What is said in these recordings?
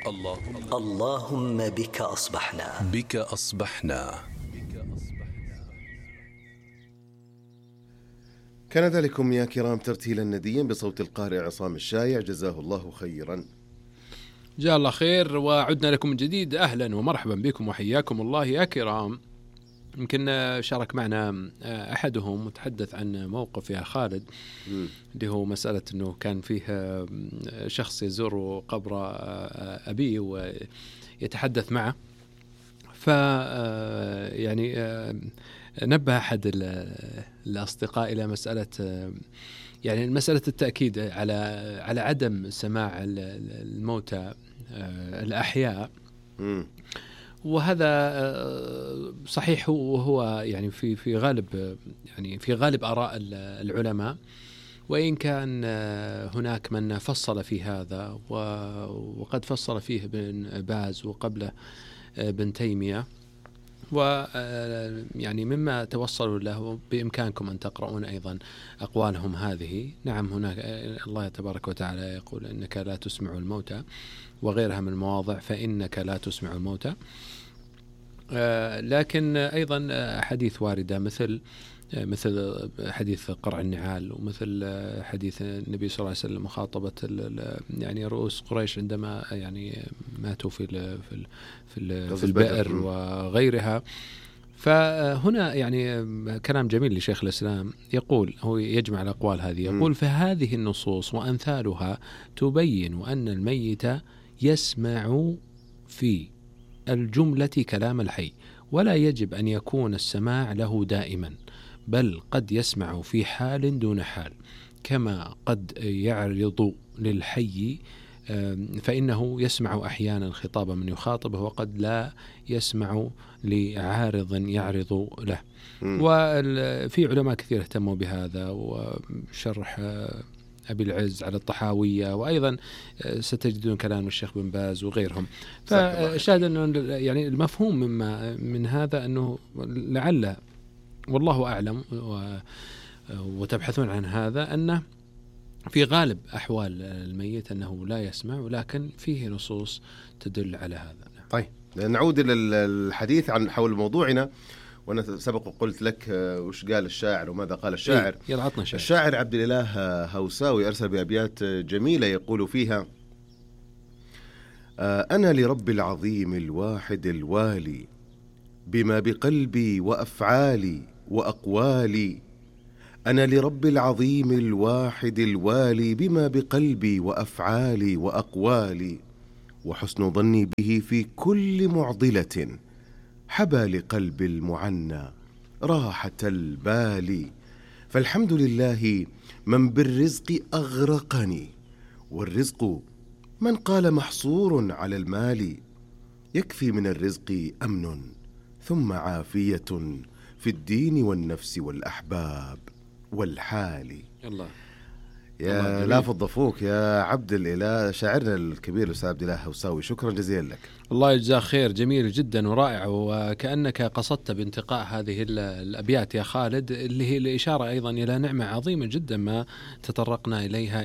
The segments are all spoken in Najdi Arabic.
اللهم بك أصبحنا. كان ذلكم يا كرام ترتيلا نديا بصوت القارئ عصام الشايع، جزاه الله خيرا. جزاه الله خير، وعدنا لكم من جديد. أهلا ومرحبا بكم وحياكم الله يا كرام. يمكن شارك معنا أحدهم وتحدث عن موقف يا خالد اللي هو مسألة أنه كان فيه شخص يزور قبر أبيه ويتحدث معه، يعني نبه أحد الأصدقاء إلى مسألة، يعني مسألة التأكيد على عدم سماع الموتى الأحياء. وهذا صحيح، وهو يعني في غالب آراء العلماء، وإن كان هناك من فصل في هذا، وقد فصل فيه ابن باز وقبله ابن تيمية، ويعني مما توصلوا له بإمكانكم أن تقرؤون أيضا أقوالهم هذه. نعم، هناك الله تبارك وتعالى يقول إنك لا تسمع الموتى، وغيرها من المواضع فإنك لا تسمع الموتى. لكن أيضا حديث واردة مثل حديث قرع النعال، ومثل حديث النبي صلى الله عليه وسلم مخاطبة يعني رؤوس قريش عندما يعني ماتوا في البئر وغيرها. فهنا يعني كلام جميل لشيخ الإسلام، يقول هو يجمع الأقوال هذه، يقول فهذه النصوص وأمثالها تبين أن الميت يسمع في الجملة كلام الحي، ولا يجب أن يكون السماع له دائما، بل قد يسمع في حال دون حال، كما قد يعرض للحي فإنه يسمع أحيانا خطاب من يخاطبه، وقد لا يسمع لعارض يعرض له. وفي علماء كثير اهتموا بهذا، وشرح أبي العز على الطحاوية، وأيضا ستجدون كلام الشيخ بن باز وغيرهم. فشاهد أنه يعني المفهوم من هذا أنه لعل والله أعلم وتبحثون عن هذا، أنه في غالب أحوال الميت أنه لا يسمع، ولكن فيه نصوص تدل على هذا. طيب نعود إلى الحديث عن حول موضوعنا. وأنا سبق وقلت لك وش قال الشاعر وماذا قال الشاعر. الشاعر عبد الإله هوساوي أرسل بأبيات جميلة يقول فيها: أنا لرب العظيم الواحد الوالي بما بقلبي وأفعالي وأقوالي. أنا لرب العظيم الواحد الوالي بما بقلبي وأفعالي وأقوالي، وحسن ظني به في كل معضلة حبى لقلب المعنى راحة البال. فالحمد لله من بالرزق أغرقني، والرزق من قال محصور على المال. يكفي من الرزق أمن ثم عافية في الدين والنفس والأحباب والحال. الله يا لا فضفوك يا عبد الإله، شاعرنا الكبير الأستاذ عبد الإله هوساوي، شكرا جزيلا لك. الله يجزاه خير، جميل جدا ورائع، وكأنك قصدت بانتقاء هذه الأبيات يا خالد، اللي هي الإشارة أيضا إلى نعمة عظيمة جدا ما تطرقنا إليها،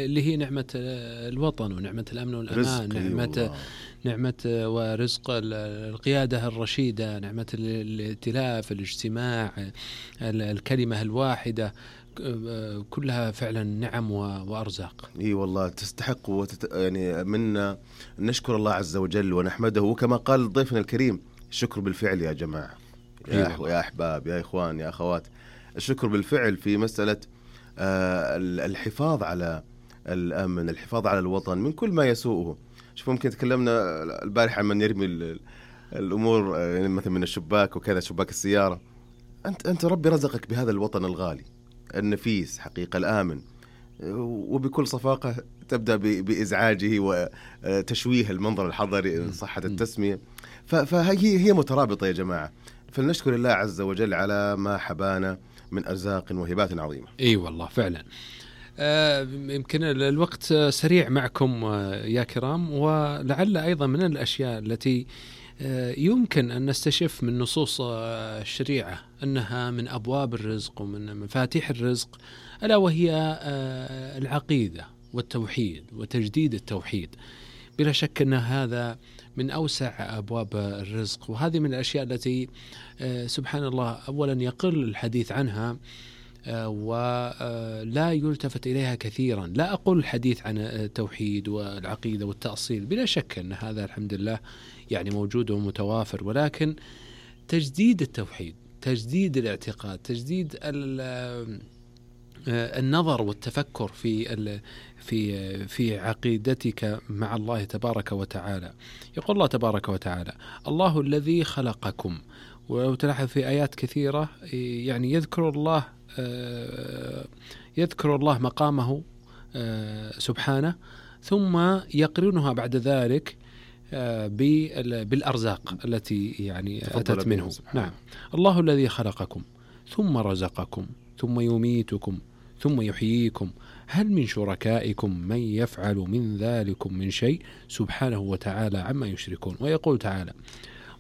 اللي هي نعمة الوطن ونعمة الأمن والأمان، نعمة ورزق القيادة الرشيدة، نعمة الائتلاف، الاجتماع، الكلمة الواحدة، كلها فعلا نعم وأرزاق. اي والله تستحق يعني منا نشكر الله عز وجل ونحمده، وكما قال ضيفنا الكريم الشكر بالفعل يا جماعة، يا أحباب، يا إخوان، يا أخوات. الشكر بالفعل في مسألة الحفاظ على الأمن، الحفاظ على الوطن من كل ما يسوءه. شوف، ممكن تكلمنا البارحة عن من يرمي الأمور يعني مثلا من الشباك وكذا، شباك السيارة. أنت ربي رزقك بهذا الوطن الغالي النفيس حقيقة الآمن، وبكل صفاقة تبدأ بإزعاجه وتشويه المنظر الحضري صحة التسمية. فهي مترابطة يا جماعة، فلنشكر الله عز وجل على ما حبانا من أرزاق وهبات عظيمة. اي والله فعلا. يمكن الوقت سريع معكم يا كرام، ولعل أيضا من الأشياء التي يمكن أن نستشف من نصوص الشريعة أنها من أبواب الرزق ومن مفاتيح الرزق، ألا وهي العقيدة والتوحيد وتجديد التوحيد. بلا شك أن هذا من أوسع أبواب الرزق، وهذه من الأشياء التي سبحان الله أولا يقل الحديث عنها ولا يلتفت إليها كثيرا. لا أقول الحديث عن التوحيد والعقيدة والتأصيل، بلا شك أن هذا الحمد لله يعني موجود ومتوافر، ولكن تجديد التوحيد، تجديد الاعتقاد، تجديد النظر والتفكر في عقيدتك مع الله تبارك وتعالى. يقول الله تبارك وتعالى: الله الذي خلقكم. ولو تلاحظ في آيات كثيرة يعني يذكر الله مقامه سبحانه، ثم يقرنها بعد ذلك بالأرزاق التي يعني أتت منه. نعم، الله الذي خلقكم ثم رزقكم ثم يميتكم ثم يحييكم، هل من شركائكم من يفعل من ذلكم من شيء سبحانه وتعالى عما يشركون. ويقول تعالى: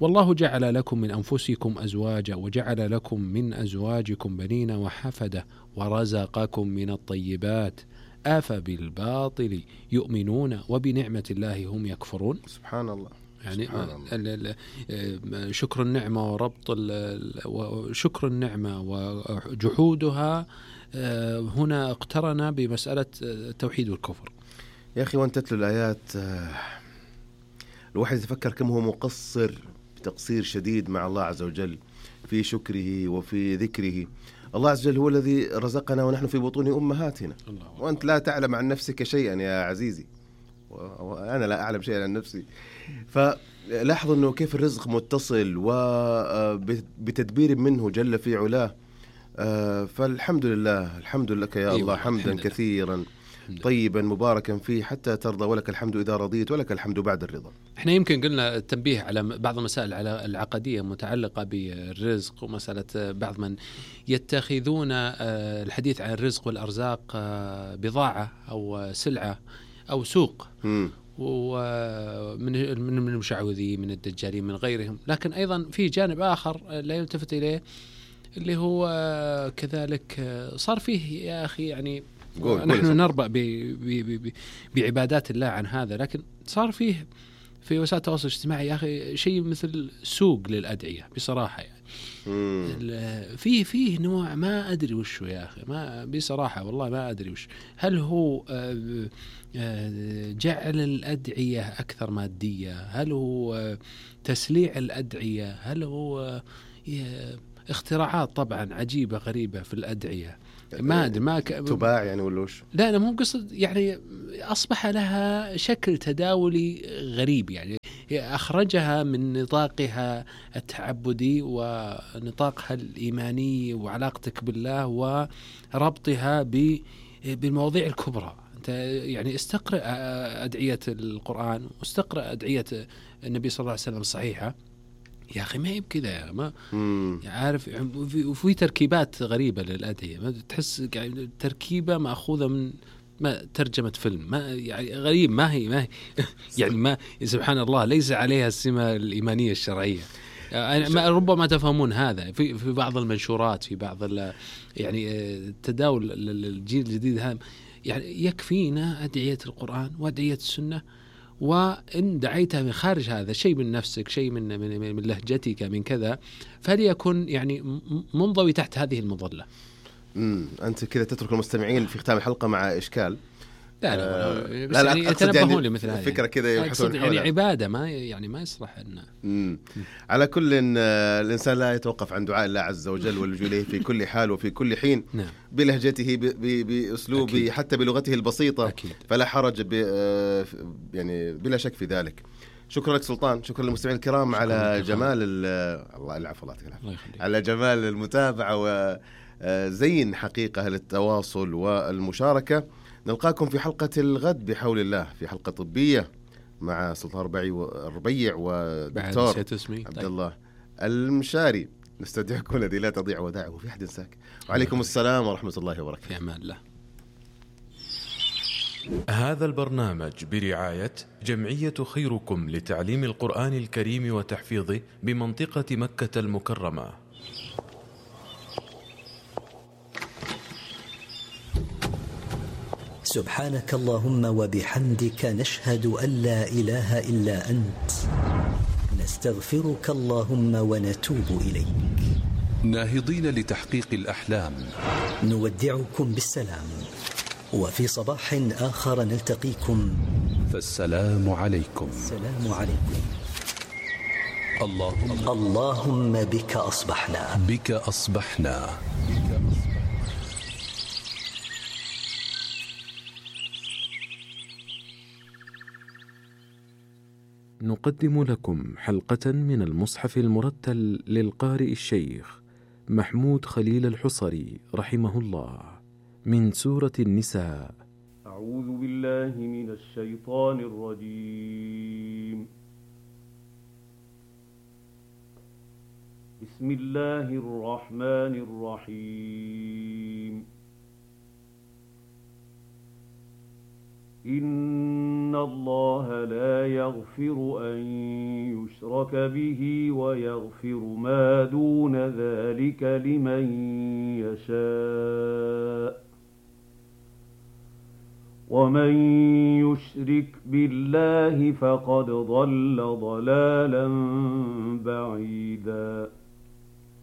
والله جعل لكم من أنفسكم أزواجا وجعل لكم من أزواجكم بنين وحفدة ورزقكم من الطيبات أفبالباطل يؤمنون وبنعمة الله هم يكفرون. سبحان الله. يعني شكر النعمة وربط شكر النعمة وجحودها هنا اقترن بمسألة التوحيد والكفر. يا أخي وأنت تتلو الآيات الواحد يتفكر كم هو مقصر بتقصير شديد مع الله عز وجل في شكره وفي ذكره. الله عز وجل هو الذي رزقنا ونحن في بطون أمهاتنا، وأنت لا تعلم عن نفسك شيئا يا عزيزي، وأنا لا أعلم شيئا عن نفسي. فلاحظوا أنه كيف الرزق متصل وبتدبير منه جل في علاه. فالحمد لله، الحمد لك يا الله حمدا كثيرا طيبا مباركا فيه حتى ترضى، ولك الحمد إذا رضيت ولك الحمد بعد الرضا. احنا يمكن قلنا التنبيه على بعض المسائل على العقدية متعلقة بالرزق، ومسألة بعض من يتخذون الحديث عن الرزق والأرزاق بضاعة أو سلعة أو سوق، ومن المشعوذين من الدجالين من غيرهم. لكن أيضا في جانب آخر لا يلتفت إليه اللي هو كذلك صار فيه يا أخي يعني نحن نربأ بعبادات الله عن هذا، لكن صار فيه في وسائل التواصل الاجتماعي يا أخي شيء مثل سوق للأدعية بصراحة. يعني فيه نوع ما أدري وشه يا أخي، ما بصراحة والله ما أدري وش. هل هو جعل الأدعية أكثر مادية؟ هل هو تسليع الأدعية؟ هل هو اختراعات طبعا عجيبة غريبة في الأدعية؟ ما أدري ما تباع يعني ولا وش؟ لا أنا مو قصد، يعني أصبح لها شكل تداولي غريب، يعني أخرجها من نطاقها التعبدي ونطاقها الإيماني وعلاقتك بالله وربطها بالمواضيع الكبرى. أنت يعني استقرأ أدعية القرآن واستقرأ أدعية النبي صلى الله عليه وسلم الصحيحة يا أخي، ما هي بكذا، ما عارف. وفي تركيبات غريبة للأدعية، ما تحس يعني تركيبة مأخوذة من ما ترجمة فيلم، ما يعني غريب، ما هي يعني ما سبحان الله ليس عليها السمة الإيمانية الشرعية. ما ربما تفهمون هذا في بعض المنشورات، في بعض يعني التداول للجيل الجديد هذا. يعني يكفينا أدعية القرآن وأدعية السنة، وإن دعيتها من خارج هذا شيء من نفسك، شيء من لهجتك، من كذا، فليكن يعني منضوي تحت هذه المظلة. أنت كذا تترك المستمعين في ختام الحلقة مع إشكال. لا يعني يتنبهون لمثل هذه الفكرة كذا يبحثون يعني عبادة ما يصلح أن على كل الإنسان لا يتوقف عن دعاء الله عز وجل واللجوء إليه في كل حال وفي كل حين. نعم. بلهجته بأسلوبه أكيد. حتى بلغته البسيطة أكيد. فلا حرج يعني بلا شك في ذلك. شكرا لك سلطان، شكرا للمستمعين الكرام على جمال الله العفو على جمال المتابعة وزين حقيقة للتواصل والمشاركة. نلقاكم في حلقة الغد بحول الله، في حلقة طبية مع سلطان الربيع ودكتور عبد الله المشاري. نستودعكم الذي لا تضيع ودائعه وفي أحد ساك. وعليكم السلام ورحمة الله وبركاته. في أمان الله. هذا البرنامج برعاية جمعية خيركم لتعليم القرآن الكريم وتحفيظه بمنطقة مكة المكرمة. سبحانك اللهم وبحمدك نشهد أن لا إله إلا أنت نستغفرك اللهم ونتوب إليك. ناهضين لتحقيق الأحلام نودعكم بالسلام، وفي صباح آخر نلتقيكم، فالسلام عليكم. السلام عليكم. اللهم بك أصبحنا. بك أصبحنا. نقدم لكم حلقة من المصحف المرتل للقارئ الشيخ محمود خليل الحصري رحمه الله من سورة النساء. أعوذ بالله من الشيطان الرجيم. بسم الله الرحمن الرحيم. إن الله لا يغفر أن يشرك به ويغفر ما دون ذلك لمن يشاء، ومن يشرك بالله فقد ضل ضلالا بعيدا.